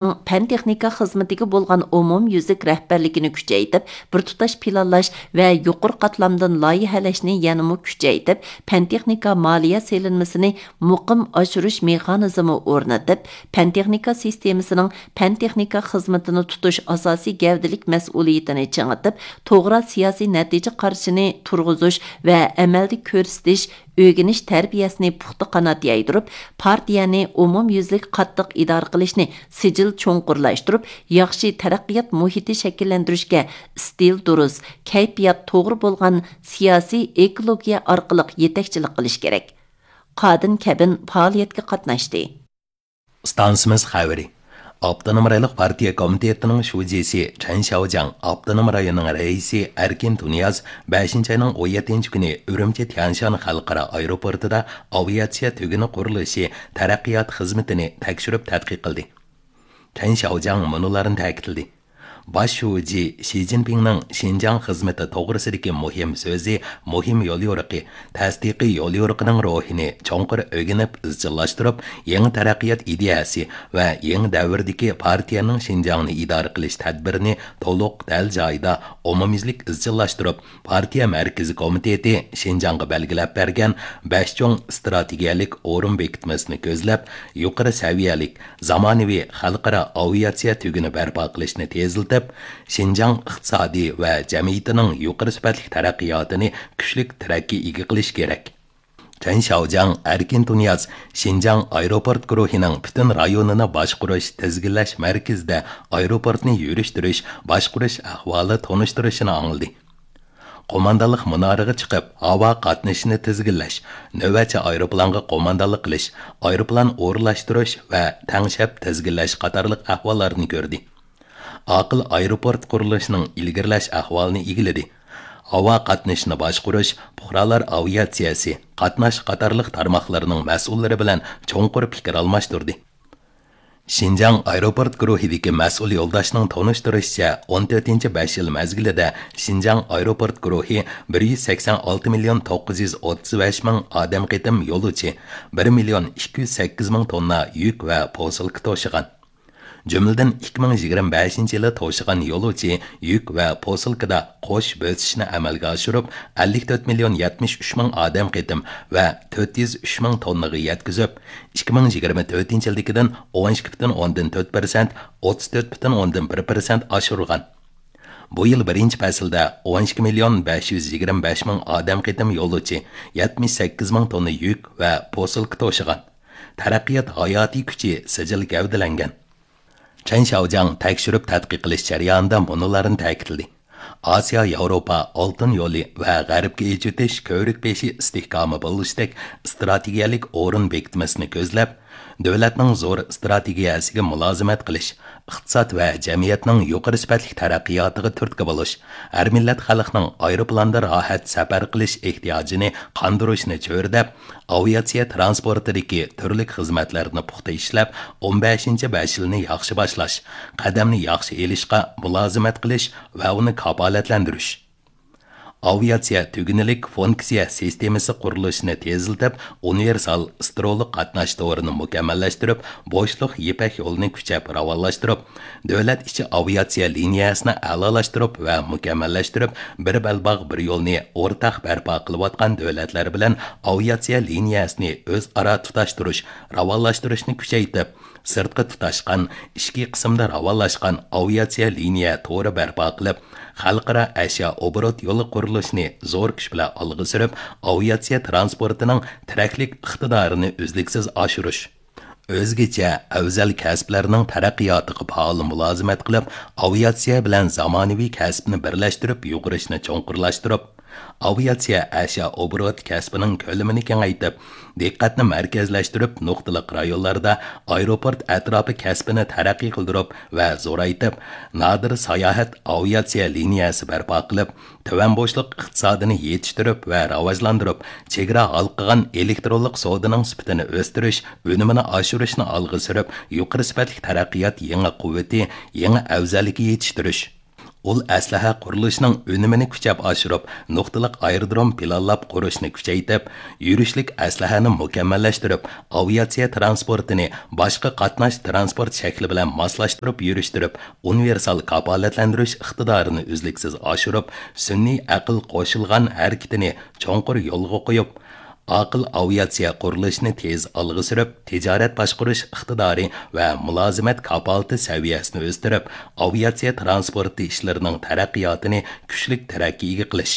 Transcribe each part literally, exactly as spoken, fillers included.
پەن-تېخنىكا خىزمىتىگە بولغان ئومۇميۈزلۈك رەھبەرلىكىنى كۈچەيتىپ، بىر تۇتاش پىلانلاش ۋە يۇقىرى قاتلامدىن لايىھەلەشنى يەنىمۇ كۈچەيتىپ، پەن-تېخنىكا مالىيە سېلىنمىسىنى مۇقىم ئاشۇرۇش مېخانىزمى ئورنىتىپ، پەن-تېخنىكا سىستېمىسىنىڭ پەن-تېخنىكا خىزمىتىنى تۇتۇش ئاساسىي گەۋدىلىك مەسئۇلىيىتىنى چىڭىتىپ، توغرا سىياسىي نەتىجە قارىشىنى تۇرغۇزۇش ۋە ئەمەلدە كۆرسىتىش، ئۆگىنىش تەربىيەسىنى پۇختا قانات يايدۇرۇپ، پارتىيەنى ئومۇميۈزلۈك قاتتىق ئىدارە قىلىشنى سىجىل چوڭقۇرلاشتۇرۇپ، ياخشى تەرەققىيات مۇھىتى شەكىللەندۈرۈشكە ئىستىل دۇرۇس، كەيپىيات توغرا بولغان سىياسىي ئېكولوگىيە ئارقىلىق يېتەكچىلىك قىلىش كېرەك. قادىن كەبىن پائالىيەتكە قاتناشتى. ئىستانسىمىز خەۋىرى. ئاپتونوم رايونلۇق پارتىيە كومىتېتىنىڭ شۇجىسى چەن شياۋجياڭ ئاپتونوم رايوننىڭ رەئىسى ئەركىن تۇنىياز بەشىنچى ئاينىڭ ئون يەتتىنچى كۈنى ئۈرۈمچى تيەنشان خەلقئارا ئايروپورتىدا ئاۋىئاتسىيە تۈگۈنى قۇرۇلۇشى تەرەققىيات خىزمىتىنى تەكشۈرۈپ تەتقىق قىلدى. چەن شياۋجياڭ مۇنۇلارنى تەكىتلىدى. باش شۇجى شى جىنپىڭنىڭ شىنجاڭ خىزمىتى توغرىسىدىكى مۇھىم سۆزى، مۇھىم يوليورۇقى، تەستىقىي يوليورۇقىنىڭ روھىنى چوڭقۇر ئۆگىنىپ ئىزچىللاشتۇرۇپ، يېڭى تەرەققىيات ئىدىيەسى ۋە يېڭى دەۋردىكى پارتىيەنىڭ شىنجاڭنى ئىدارە قىلىش تەدبىرىنى تولۇق، دەل جايىدا، ئومۇميۈزلۈك ئىزچىللاشتۇرۇپ، پارتىيە مەركىزىي كومىتېتى شىنجاڭغا بەلگىلەپ بەرگەن بەش چوڭ ئىستراتېگىيەلىك ئورۇن بېكىتمىسىنى كۆزلەپ، يۇقىرى سەۋىيەلىك، زامانىۋى خەلقئارا ئاۋىئاتسىيە تۈگۈنى بەرپا قىلىشنى تېزلىتىپ، شىنجاڭ ئىقتىسادى ۋە جەمئىيىتىنىڭ يۇقىرى سۈپەتلىك تەرەققىياتىنى كۈچلۈك تىرەككە ئىگە قىلىش كېرەك. چەن شياۋجياڭ ئەركىن تۇنىياز شىنجاڭ ئايروپورت گۇرۇھىنىڭ پۈتۈن رايونىنى باشقۇرۇش، تىزگىنلەش مەركىزىدە ئايروپورتنى يۈرۈشتۈرۈش، باشقۇرۇش ئەھۋالى تونۇشتۇرۇشىنى ئاڭلىدى. قوماندانلىق مۇنارىغا چىقىپ، ھاۋا قاتنىشىنى تىزگىنلەش، نۆۋەتچى ئايروپىلانغا قوماندانلىق قىلىش، ئايروپىلان ئورۇنلاشتۇرۇش ۋە تەڭشەپ تىزگىنلەش قاتارلىق ئەھۋاللارنى كۆردى. ئاقىل ئايروپورت قۇرۇلۇشىنىڭ ئىلگىرىلەش ئەھۋالىنى ئىگىلىدى. ھاۋا قاتنىشىنى باشقۇرۇش، پۇقرالار ئاۋىئاتسىيەسى، قاتناش قاتارلىق تارماقلىرىنىڭ مەسئۇللىرى بىلەن چوڭقۇر پىكىر ئالماشتۇردى. شىنجاڭ ئايروپورت گۇرۇھىدىكى مەسئۇل يولداشنىڭ تونۇشتۇرۇشىچە، ئون تۆتىنچى بەش يىل مەزگىلىدە شىنجاڭ ئايروپورت گۇرۇھى بىر يۈز سەكسەن ئالتە مىليون توققۇز يۈز ئوتتۇز بەش مىڭ ئادەم قېتىم يولۇچى، بىر مىليون ئىككى يۈز سەككىز مىڭ توننا يۈك ۋە پوسۇلكا توشىغان. جۈملىدىن ئىككى مىڭ يىگىرمە بەشىنچى يىلى توشىغان يولۇچى يۈك ۋە پوسۇلكىدا قوش بۆسۈشنى ئەمەلگە ئاشۇرۇپ، ئەللىك تۆت مىليون يەتمىش ئۈچ مىڭ ئادەم قېتىم ۋە تۆت يۈز ئۈچ مىڭ توننىغا يەتكۈزۈپ، ئىككى مىڭ يىگىرمە تۆتىنچى يىلدىكىدىن ئون ئىككى پۈتۈن ئوندىن تۆت پىرسەنت، ئوتتۇز تۆت پۈتۈن ئوندىن بىر پىرسەنت ئاشۇرغان. بۇ يىل بىرىنچى پەسىلدە ئون ئىككى مىليون بەش يۈز يىگىرمە بەش مىڭ ئادەم قېتىم يولۇچى، يەتمىش سەككىز مىڭ توننا يۈك ۋە پوسۇلكا توشىغان. تەرەققىيات ھاياتىي كۈچى سىجىل گەۋدىلەنگەن. چەن شياۋجياڭ تەكشۈرۈپ تەتقىق قىلىش جەريانىدا مۇنۇلارنى تەكىتلىدى. ئاسىيا ياۋروپا ئالتۇن يولى ۋە غەربكە ئېچىۋېتىش كۆۋرۈك بېشى ئىستىھكامى بولۇشتەك ئىستراتېگىيەلىك ئورۇن بېكىتمىسىنى كۆزلەپ، دۆلەتنىڭ زور ئىستراتېگىيەسىگە مۇلازىمەت قىلىش، ئىقتىساد ۋە جەمئىيەتنىڭ يۇقىرى سۈپەتلىك تەرەققىياتىغا تۈرتكە بولۇش، ھەر مىللەت خەلقنىڭ ئايروپىلاندا راھەت سەپەر قىلىش ئېھتىياجىنى قاندۇرۇشنى چۆرىدەپ، ئاۋىئاتسىيە تىرانسپورتىدىكى تۈرلۈك خىزمەتلەرنى پۇختا ئىشلەپ، ئون بەشىنچى بەش يىلنى ياخشى باشلاش، قەدەمنى ياخشى ئېلىشقا مۇلازىمەت قىلىش ۋە ئۇنى كاپالەتلەندۈرۈش. ئاۋىئاتسىيە تۈگۈنلۈك فۇنكسىيە سىستېمىسى قۇرۇلۇشىنى تېزلىتىپ، ئۇنىۋېرسال سترولۇق قاتناش تورىنى مۇكەممەللەشتۈرۈپ، بوشلۇق يىپەك يولىنى كۈچەپ راۋانلاشتۇرۇپ، دۆلەت ئىچى ئاۋىئاتسىيە لىنىيەسىنى ئەلالاشتۇرۇپ ۋە مۇكەممەللەشتۈرۈپ، بىر بەلباغ، بىر يولنى ئورتاق بەرپا قىلىۋاتقان دۆلەتلەر بىلەن ئاۋىئاتسىيە لىنىيەسىنى ئۆزئارا تۇتاشتۇرۇش، راۋانلاشتۇرۇشنى كۈچەيتىپ، سىرتقا تۇتاشقان، ئىچكى قىسىمدا راۋانلاشقان ئاۋىئاتسىيە لىنىيە تورى بەرپا قىلىپ، خەلقئارا ئەشيا ئوبوروت يولى قۇرۇلۇشىنى زور كۈچ بىلەن ئالغا سۈرۈپ، ئاۋىئاتسىيە تىرانسپورتىنىڭ تىرەكلىك ئىقتىدارىنى ئۈزلۈكسىز ئاشۇرۇش. ئۆزگىچە ئەۋزەل كەسىپلەرنىڭ تەرەققىياتىغا پائال مۇلازىمەت قىلىپ، ئاۋىئاتسىيە بىلەن زامانىۋى كەسىپنى بىرلەشتۈرۈپ يۇغۇرۇشنى چوڭقۇرلاشتۇرۇپ، ئاۋىئاتسىيە ئەشيا ئوبوروت كەسپىنىڭ كۆلىمىنى كېڭەيتىپ، دىققەتنى مەركەزلەشتۈرۈپ، نۇقتىلىق رايونلاردا ئايروپورت ئەتراپى كەسپىنى تەرەققىي قىلدۇرۇپ ۋە زورايتىپ، نادىر ساياھەت ئاۋىئاتسىيە لىنىيەسى بەرپا قىلىپ، تۆۋەن بوشلۇق ئىقتىسادىنى يېتىشتۈرۈپ ۋە راۋاجلاندۇرۇپ، چېگرا ھالقىغان ئېلېكترونلۇق سودىنىڭ سۈپىتىنى ئۆستۈرۈش، ئۈنۈمىنى ئاشۇرۇشنى ئالغا سۈرۈپ، يۇقىرى سۈپەتلىك تەرەققىيات يېڭى قۇۋۋىتى، يېڭى ئەۋزەللىكى يېتىشتۈرۈش. ئۇل ئەسلىھە قۇرۇلۇشىنىڭ ئۈنۈمىنى كۈچەپ ئاشۇرۇپ، نۇقتىلىق ئايرودروم پىلانلاپ قۇرۇشنى كۈچەيتىپ، يۈرۈشلۈك ئەسلىھەنى مۇكەممەللەشتۈرۈپ، ئاۋىئاتسىيە ترانسپورتىنى باشقا قاتناش ترانسپورت شەكلى بىلەن ماسلاشتۇرۇپ يۈرۈشتۈرۈپ، ئۇنىۋېرسال كاپالەتلەندۈرۈش ئىقتىدارىنى ئۈزلۈكسىز ئاشۇرۇپ، سۈنئىي ئەقىل قوشۇلغان ھەرىكىتىنى چوڭقۇر يولغا قويۇپ، ئاقىل ئاۋىئاتسىيە قۇرۇلۇشىنى تېز ئالغا سۈرۈپ، تىجارەت باشقۇرۇش ئىقتىدارى ۋە مۇلازىمەت كاپالىتى سەۋىيەسىنى ئۆستۈرۈپ، ئاۋىئاتسىيە ترانسپورتى ئىشلىرىنىڭ تەرەققىياتىنى كۈچلۈك تەرەققىيگە قىلىش.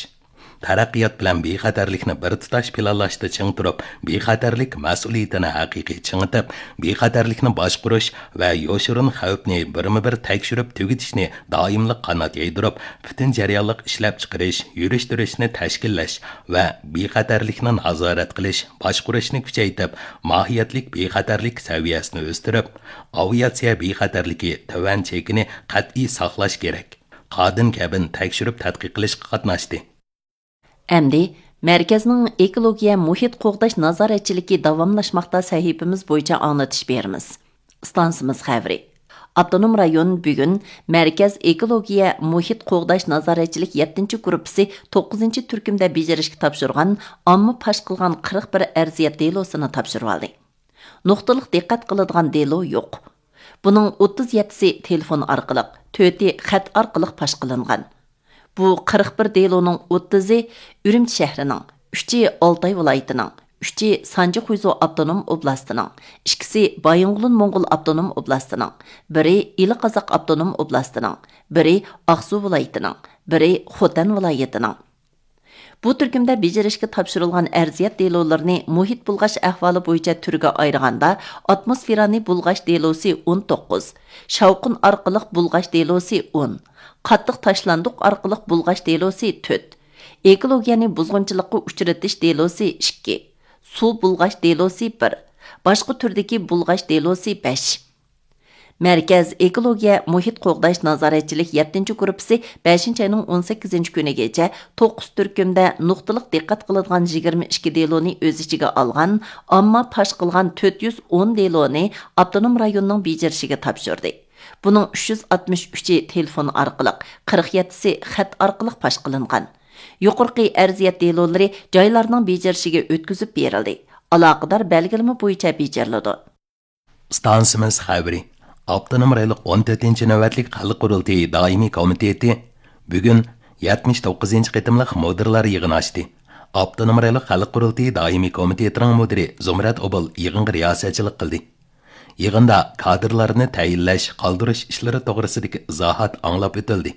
تەرەققىيات بىلەن بىخەتەرلىكنى بىر تۇتاش پىلانلاشتا چىڭ تۇرۇپ، بىخەتەرلىك مەسئۇلىيىتىنى ھەقىقىي چىڭىتىپ، بىخەتەرلىكنى باشقۇرۇش ۋە يوشۇرۇن خەۋپنى بىرمۇبىر تەكشۈرۈپ تۈگىتىشنى دائىملىق قانات يايدۇرۇپ، پۈتۈن جەريانلىق ئىشلەپچىقىرىش، يۈرۈشتۈرۈشنى تەشكىللەش ۋە بىخەتەرلىكنى نازارەت قىلىش، باشقۇرۇشنى كۈچەيتىپ، ماھىيەتلىك بىخەتەرلىك سەۋىيەسىنى ئۆستۈرۈپ، ئاۋىئاتسىيە بىخەتەرلىكى تۆۋەن چېكىنى قەتئىي ساقلاش كېرەك. قادىن كەبىن تەكشۈرۈپ تەتقىق قىلىشقا قاتناشتى. ئەمدى مەركەزنىڭ ئېكولوگىيە مۇھىت قوغداش نازارەتچىلىكى داۋاملاشماقتا سەھىپىمىز بويىچە ئاڭلىتىش بېرىمىز. ئىستانسىمىز خەۋىرى. ئاپتونوم رايون بۈگۈن مەركەز ئېكولوگىيە مۇھىت قوغداش نازارەتچىلىك يەتتىنچى گۇرۇپپىسى توققۇزىنچى تۈركۈمدە بېجىرىشكە تاپشۇرغان ئامما پاش قىلغان قىرىق بىر ئەرزىيەت دېلوسىنى تاپشۇرۇۋالدى. نۇقتىلىق دىققەت قىلىدىغان دېلو يوق. بۇنىڭ ئوتتۇز يەتتىسى تېلېفون ئارقىلىق، تۆتى خەت ئارقىلىق پاش قىلىنغان. بۇ قىرىق بىر دېلونىڭ ئوتتۇزى ئۈرۈمچى شەھىرىنىڭ، ئۈچى ئالتاي ۋىلايىتىنىڭ، ئۈچى سانجى خۇيزۇ ئاپتونوم ئوبلاستىنىڭ، ئىككىسى بايىنغولىن موڭغۇل ئاپتونوم ئوبلاستىنىڭ، بىرى ئىلى قازاق ئاپتونوم ئوبلاستىنىڭ، بىرى ئاقسۇ ۋىلايىتىنىڭ، بىرى خوتەن ۋىلايىتىنىڭ. بۇ تۈركۈمدە بېجىرىشكە تاپشۇرۇلغان ئەرزىيەت دېلولىرىنى مۇھىت بۇلغاش ئەھۋالى بويىچە تۈرگە ئايرىغاندا، ئاتموسفېرانى بۇلغاش دېلوسى ئون توققۇز، شاۋقۇن ئارقىلىق بۇلغاش دېلوسى ئون، قاتتىق تاشلاندۇق ئارقىلىق بۇلغاش دېلوسى تۆت، ئېكولوگىيەنى بۇزغۇنچىلىققا ئۇچرىتىش دېلوسى ئىككى، سۇ بۇلغاش دېلوسى بىر، باشقا تۈردىكى بۇلغاش دېلوسى بەش. مەركەز ئېكولوگىيە مۇھىت قوغداش نازارەتچىلىك يەتتىنچى گۇرۇپپىسى بەشىنچى ئاينىڭ ئون سەككىزىنچى كۈنىگىچە توققۇز تۈركۈمدە نۇقتىلىق دىققەت قىلىدىغان يىگىرمە ئىككى دېلونى ئۆز ئىچىگە ئالغان ئامما پاش قىلغان تۆت يۈز ئون دېلونى ئاپتونوم رايوننىڭ بېجىرىشىگە تاپشۇردى. بۇنىڭ ئۈچ يۈز ئاتمىش ئۈچى تېلېفون ئارقىلىق، قىرىق يەتتىسى خەت ئارقىلىق پاش قىلىنغان. يۇقىرىقى ئەرزىيەت دېلولىرى جايلارنىڭ بېجىرىشىگە ئۆتكۈزۈپ بېرىلدى. ئالاقىدار بەلگىلىمە بويىچە بېجىرىلىدۇ. ئىستانسىمىز خەۋىرى. ئاپتونوم رايونلۇق ئون تۆتىنچى نۆۋەتلىك خەلق قۇرۇلتىيى دائىمىي كومىتېتى بۈگۈن يەتمىش توققۇزىنچى قېتىملىق مۇدىرلار يىغىنى ئاچتى. ئاپتونوم رايونلۇق خەلق قۇرۇلتىيى دائىمىي كومىتېتىنىڭ مۇدىرى زۇمرەت ئوبۇل يىغىنغا رىياسەتچىلىك قىلدى. يىغىندا كادىرلارنى تەيىنلەش، قالدۇرۇش ئىشلىرى توغرىسىدىكى ئىزاھات ئاڭلاپ ئۆتۈلدى.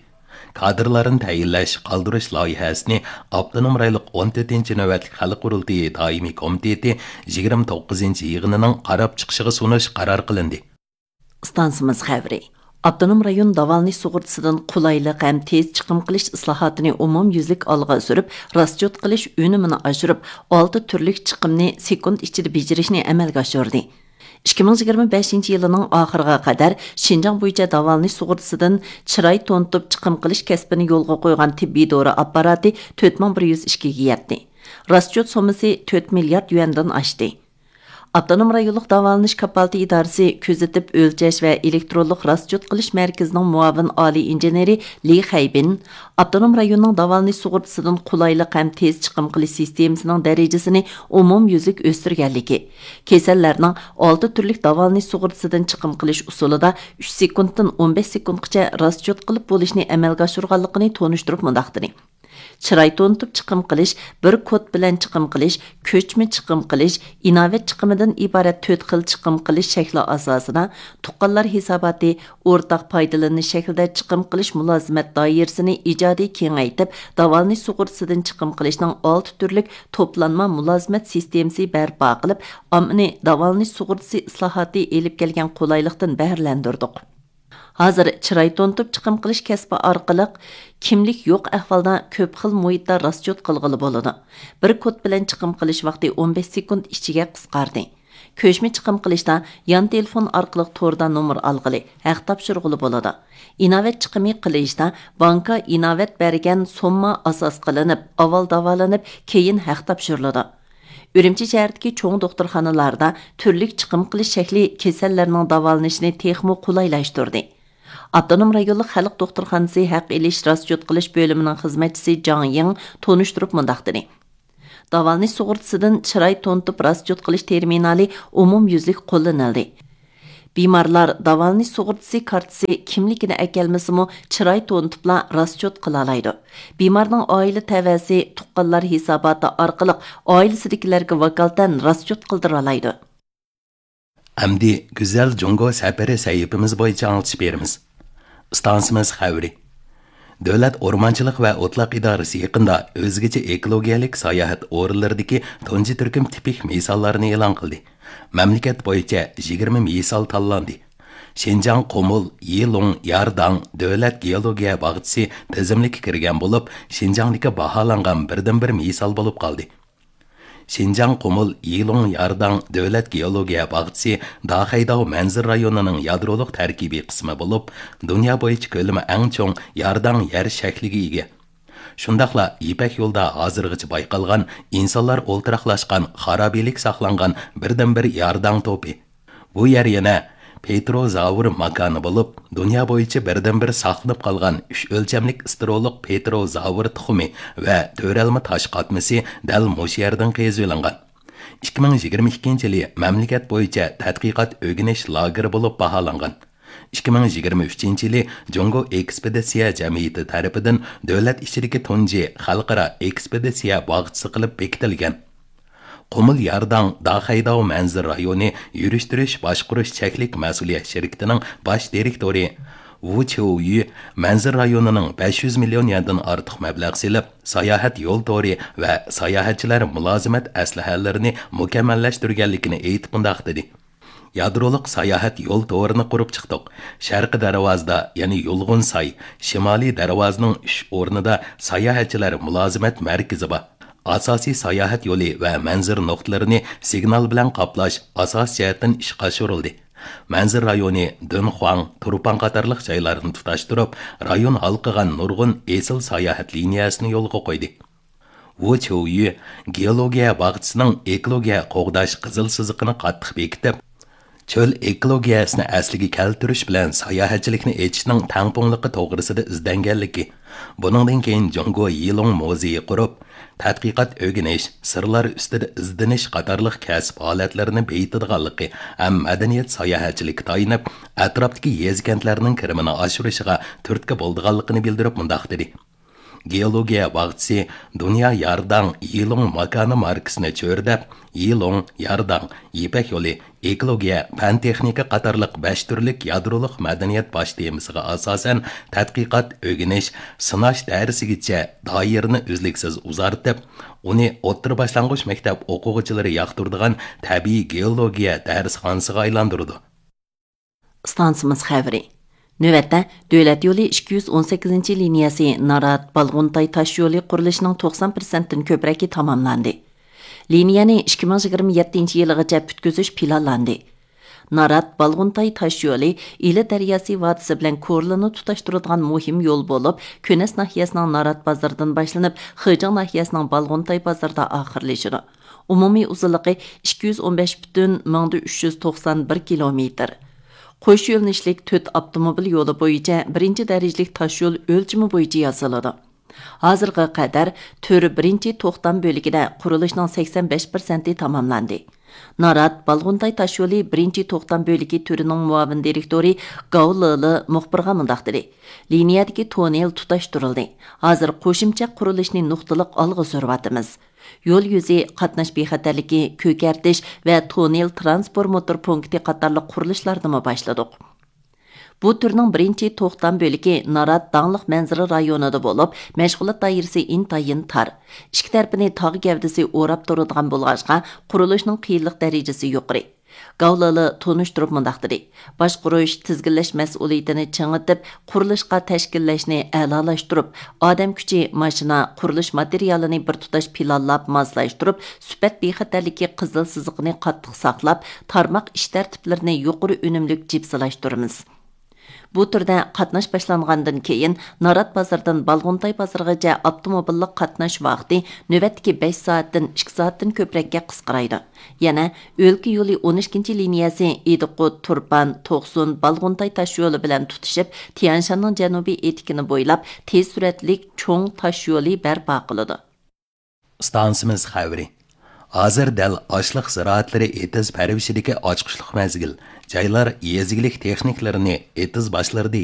كادىرلارنى تەيىنلەش، قالدۇرۇش لايىھەسىنى ئاپتونوم رايونلۇق ئون تۆتىنچى نۆۋەتلىك خەلق قۇرۇلتىيى دائىمىي كومىتېتى يىگىرمە توققۇزىنچى يىغىنىنىڭ قاراپ چىقىشىغا سۇنۇش قارار قىلىندى. ئىستانسىمىز خەۋىرى. ئاپتونوم رايون داۋالىنىش سۇغۇرتىسىدىن قولايلىق ھەم تېز چىقىم قىلىش ئىسلاھاتىنى ئومۇميۈزلۈك ئالغا سۈرۈپ، راسچوت قىلىش ئۈنۈمىنى ئاشۇرۇپ، ئالتە تۈرلۈك چىقىمنى سېكۇنت ئىچىدە بېجىرىشنى ئەمەلگە ئاشۇردى. ئىككى مىڭ يىگىرمە بەشىنچى يىلىنىڭ ئاخىرىغا قەدەر شىنجاڭ بويىچە داۋالىنىش سۇغۇرتىسىدىن چىراي تونۇتۇپ چىقىم قىلىش كەسپىنى يولغا قويغان تېببىي دورا ئاپپاراتى تۆت مىڭ بىر يۈز ئىككىگە يەتتى. راسچوت سوممىسى تۆت مىليارد يۈەندىن ئاشتى. ئاپتونوم رايونلۇق داۋالىنىش كاپالىتى ئىدارىسى كۆزىتىپ ئۆلچەش ۋە ئېلېكترونلۇق راسچوت قىلىش مەركىزىنىڭ مۇئاۋىن ئالىي ئىنژېنېرى لى خەيبىن ئاپتونوم رايوننىڭ داۋالىنىش سۇغۇرتىسىدىن قولايلىق ھەم تېز چىقىم قىلىش سىستېمىسىنىڭ دەرىجىسىنى ئومۇميۈزلۈك ئۆستۈرگەنلىكى، كېسەللەرنىڭ ئالتە تۈرلۈك داۋالىنىش سۇغۇرتىسىدىن چىقىم قىلىش ئۇسۇلىدا ئۈچ سېكۇنتتىن ئون بەش سېكۇنتقىچە راسچوت قىلىپ بولۇشنى ئەمەلگە ئاشۇرغانلىقىنى تونۇشتۇرۇپ مۇنداق دېدى. چىراي تونۇتۇپ چىقىم قىلىش، بىر كود بىلەن چىقىم قىلىش، كۆچمە چىقىم قىلىش، ئىناۋەت چىقىمىدىن ئىبارەت تۆت خىل چىقىم قىلىش شەكلى ئاساسىدا، تۇغقانلار ھېساباتى، ئورتاق پايدىلىنىش شەكلىدە چىقىم قىلىش مۇلازىمەت دائىرىسىنى ئىجادىي كېڭەيتىپ، داۋالىنىش سۇغۇرتىسىدىن چىقىم قىلىشنىڭ ئالتە تۈرلۈك توپلانما مۇلازىمەت سىستېمىسى بەرپا قىلىپ، ئاممىنى داۋالىنىش سۇغۇرتىسى ئىسلاھاتى ئېلىپ كەلگەن قولايلىقتىن بەھرىلەندۈردۇق. ھازىر چىراي تونۇتۇپ چىقىم قىلىش كەسپى ئارقىلىق كىملىك يوق ئەھۋالدا كۆپ خىل مۇھىتتا راسچوت قىلغىلى بولىدۇ. بىر كود بىلەن چىقىم قىلىش ۋاقتى ئون بەش سېكۇنت ئىچىگە قىسقاردى. كۆچمە چىقىم قىلىشتا يان تېلېفون ئارقىلىق توردا نومۇر ئالغىلى، ھەق تاپشۇرغىلى بولىدۇ. ئىناۋەت چىقىمى قىلىشتا بانكا ئىناۋەت بەرگەن سومما ئاساس قىلىنىپ، ئاۋۋال داۋالىنىپ، كېيىن ھەق تاپشۇرۇلىدۇ. ئۈرۈمچى شەھىرىدىكى چوڭ دوختۇرخانىلاردا تۈرلۈك چىقىم قىلىش شەكلى كېسەللەرنىڭ داۋالىنىشىنى تېخىمۇ قولايلاشتۇردى. ئاپتونوم رايونلۇق خەلق دوختۇرخانىسى ھەق ئېلىش راسچوت قىلىش بۆلۈمىنىڭ خىزمەتچىسى جاڭ يىڭ تونۇشتۇرۇپ مۇنداق دېدى: داۋالىنىش سۇغۇرتىسىدىن چىراي تونۇتۇپ راسچوت قىلىش تېرمىنالى ئومۇميۈزلۈك قوللىنىلدى. بىمارلار داۋالىنىش سۇغۇرتىسى كارتىسى كىملىكىنى ئەكەلمىسىمۇ، چىراي تونۇتۇپلا راسچوت قىلالايدۇ. بىمارنىڭ ئائىلە تەۋەسى تۇغقانلار ھېساباتى ئارقىلىق ئائىلىسىدىكىلەرگە ۋاكالىتەن راسچوت قىلدۇرالايدۇ. ئەمدى گۈزەل جۇڭگو سەپىرى سەھىپىمىز بويىچە ئاڭلىتىش بېرىمىز. ئىستانسىمىز خەۋىرى. دۆلەت ئورمانچىلىق ۋە ئوتلاق ئىدارىسى يېقىندا ئۆزگىچە ئېكولوگىيەلىك ساياھەت ئورۇنلىرىدىكى تۇنجى تۈركۈم تىپىك مىساللارنى ئېلان قىلدى. مەملىكەت بويىچە يىگىرمە مىسال تاللاندى. شىنجاڭ قۇمۇل يىلۇڭ يارداڭ دۆلەت گېئولوگىيە باغچىسى تىزىملىككە كىرگەن بولۇپ، شىنجاڭدىكى باھالانغان بىردىنبىر مىسال بولۇپ قالدى. شىنجاڭ قۇمۇل يىلۇڭ يارداڭ دۆلەت گېئولوگىيە باغچىسى داخەيداۋ مەنزىرە رايونىنىڭ يادرولۇق تەركىبىي قىسمى بولۇپ، دۇنيا بويىچە كۆلىمى ئەڭ چوڭ يارداڭ يەر شەكلىگە ئىگە. شۇنداقلا يىپەك يولىدا ھازىرغىچە بايقالغان ئىنسانلار ئولتۇراقلاشقان خارابىلىك ساقلانغان بىردىنبىر يارداڭ توپى. بۇ يەر يەنە پېتروزاۋر ماكانى بولۇپ، دۇنيا بويىچە بىردىنبىر ساقلىنىپ قالغان ئۈچ ئۆلچەملىك ئىستېرولۇق پېتروزاۋر تۇخۇمى ۋە تۆرەلمە تاش قاتمىسى دەل مۇشۇ يەردىن قېزىۋېلىنغان. ئىككى مىڭ يىگىرمە ئىككىنچى يىلى مەملىكەت بويىچە تەتقىقات ئۆگىنىش لاگېرى بولۇپ باھالانغان. ئىككى مىڭ يىگىرمە ئۈچىنچى يىلى جۇڭگو ئېكسپېدىتسىيە جەمئىيىتى تەرىپىدىن دۆلەت ئىچىدىكى تۇنجى خەلقئارا ئېكسپېدىتسىيە باغچىسى قىلىپ بېكىتىلگەن. قۇمۇل يارداڭ داخەيداۋ مەنزىرە رايونى يۈرۈشتۈرۈش باشقۇرۇش چەكلىك مەسئۇلىيەت شىركىتىنىڭ باش دىرېكتورى ۋۇ چيۇيۈ مەنزىرە رايونىنىڭ بەش يۈز مىليون يەندىن ئارتۇق مەبلەغ سېلىپ، ساياھەت يول تورى ۋە ساياھەتچىلەر مۇلازىمەت ئەسلىھەلىرىنى مۇكەممەللەشتۈرگەنلىكىنى ئېيتىپ مۇنداق دېدى: يادرولۇق ساياھەت يول تورىنى قۇرۇپ چىقتۇق. شەرقىي دەرۋازىدا، يەنى يۇلغۇنساي، شىمالىي دەرۋازىنىڭ ئۈچ ئورنىدا ساياھەتچىلەر مۇلازىمەت مەركىزى بار. ئاساسىي ساياھەت يولى ۋە مەنزىرە نۇقتىلىرىنى سىگنال بىلەن قاپلاش ئاساسىي جەھەتتىن ئىشقا ئاشۇرۇلدى. مەنزىرە رايونى دۈنخۇاڭ، تۇرپان قاتارلىق جايلارنى تۇتاشتۇرۇپ، رايون ھالقىغان نۇرغۇن ئېسىل ساياھەت لىنىيەسىنى يولغا قويدى. ۋۇ چيۇيۈ گېئولوگىيە باغچىسىنىڭ ئېكولوگىيە قوغداش قىزىل سىزىقىنى قاتتىق بېكىتىپ، چۆل ئېكولوگىيەسىنى ئەسلىگە كەلتۈرۈش بىلەن ساياھەتچىلىكنى ئېچىشنىڭ تەڭپۇڭلۇقى توغرىسىدا ئىزدەنگەنلىكى، بۇنىڭدىن كېيىن جۇڭگو يىلۇڭ مۇزېيى قۇرۇپ، تەتقىقات ئۆگىنىش، سىرلار ئۈستىدە ئىزدىنىش قاتارلىق كەسىپ ھالەتلىرىنى بېيىتىدىغانلىقى ھەم مەدەنىيەت ساياھەتچىلىككە تايىنىپ، ئەتراپتىكى يېزا-كەنتلەرنىڭ كىرىمىنى ئاشۇرۇشىغا تۈرتكە بولىدىغانلىقىنى بىلدۈرۈپ مۇنداق دېدى: گېئولوگىيە باغچىسى دۇنيا يارداڭ يىلۇڭ ماكانى ماركىسىنى چۆرىدەپ، يىلۇڭ، يارداڭ، يىپەك يولى، ئېكولوگىيە، پەن-تېخنىكا قاتارلىق بەش تۈرلۈك يادرولۇق مەدەنىيەت باش تېمىسىغا ئاساسەن تەتقىقات، ئۆگىنىش، سىناش دەرسىگىچە دائىرىنى ئۈزلۈكسىز ئۇزارتىپ، ئۇنى ئوتتۇرا باشلانغۇچ مەكتەپ ئوقۇغۇچىلىرى ياقتۇرىدىغان تەبىئىي گېئولوگىيە دەرسخانىسىغا ئايلاندۇرىدۇ. ئىستانسىمىز خەۋىرى. نۆۋەتتە، دۆلەت يولى ئىككى يۈز ئون سەككىزىنچى لىنىيەسى نارات، بالغۇنتاي تاش يولى قۇرۇلۇشىنىڭ توقسان پىرسەنتتىن كۆپرەكى تاماملاندى. لىنىيەنى ئىككى مىڭ يىگىرمە يەتتىنچى يىلىغىچە پۈتكۈزۈش پىلانلاندى. نارات، بالغۇنتاي تاش يولى ئىلى دەرياسى ۋادىسى بىلەن كورلىنى تۇتاشتۇرىدىغان مۇھىم يول بولۇپ، كۈنەس ناھىيەسىنىڭ نارات بازىرىدىن باشلىنىپ، خېجىڭ ناھىيەسىنىڭ بالغۇنتاي بازىرىدا ئاخىرلىشىدۇ. ئومۇمىي ئۇزۇنلۇقى ئىككى يۈز ئون بەش پۈتۈن مىڭدا ئۈچ يۈز توقسان بىر كىلومېتىر. قوش يۆنىلىشلىك تۆت ئاپتوموبىل يولى بويىچە بىرىنچى دەرىجىلىك تاش يول ئۆلچىمى بويىچە ياسىلىدۇ. ھازىرغا قەدەر تۈر بىرىنچى توختام بۆلىكىدە قۇرۇلۇشنىڭ سەكسەن بەش پىرسەنتى تاماملاندى. نارات، بالغۇنتاي تاش يولى بىرىنچى توختام بۆلىكى تۈرىنىڭ مۇئاۋىن دىرېكتورى گاۋ لېلې مۇخبىرغا مۇنداق دېدى: لىنىيەدىكى توننېل تۇتاشتۇرۇلدى. ھازىر قوشۇمچە قۇرۇلۇشنى نۇقتىلىق ئالغا سۈرۈۋاتىمىز. يول يۈزى قاتناش بىخەتەرلىكى، كۆكەرتىش ۋە توننېل ترانسفورماتور پونكىتى قاتارلىق قۇرۇلۇشلاردىمۇ باشلىدۇق. بۇ تۈرنىڭ بىرىنچى توختام بۆلىكى نارات داڭلىق مەنزىرە رايونىدا بولۇپ، مەشغۇلات دائىرىسى ئىنتايىن تار. ئىككى تەرىپىنى تاغ گەۋدىسى ئوراپ تۇرىدىغان بولغاچقا، قۇرۇلۇشنىڭ قىيىنلىق دەرىجىسى يۇقىرى. گاۋ لېلې تونۇشتۇرۇپ مۇنداق دېدى: باشقۇرۇش، تىزگىنلەش مەسئۇلىيىتىنى چىڭىتىپ، قۇرۇلۇشقا تەشكىللەشنى ئەلالاشتۇرۇپ، ئادەم كۈچى، ماشىنا، قۇرۇلۇش ماتېرىيالىنى بىر تۇتاش پىلانلاپ ماسلاشتۇرۇپ، سۈپەت بىخەتەرلىكى قىزىل سىزىقىنى قاتتىق ساقلاپ، تارماق ئىش تەرتىپلىرىنى يۇقىرى ئۈنۈملۈك جىپسىلاشتۇرىمىز. بۇ تۈردە قاتناش باشلانغاندىن كېيىن، نارات بازىرىدىن بالغۇنتاي بازىرىغىچە ئاپتوموبىللىق قاتناش ۋاقتى نۆۋەتتىكى بەش سائەتتىن ئىككى سائەتتىن كۆپرەككە قىسقىرايدۇ. يەنە ئۆلكە يولى ئون ئىككىنچى لىنىيەسى ئىدىقۇت، تۇرپان، توقسۇن، بالغۇنتاي تاشيولى بىلەن تۇتىشىپ، تيەنشاننىڭ جەنۇبىي ئېتىكىنى بويلاپ، تېز سۈرئەتلىك چوڭ تاشيولى بەرپا قىلىدۇ. ئىستانسىمىز خەۋىرى. ھازىر دەل ئاشلىق زىرائەتلىرى ئېتىز پەرۋىشىدىكى ئاچقۇچلۇق مەزگىل. جايلار يېزا ئىگىلىك تېخنىكلىرىنى ئېتىز باشلىرىدا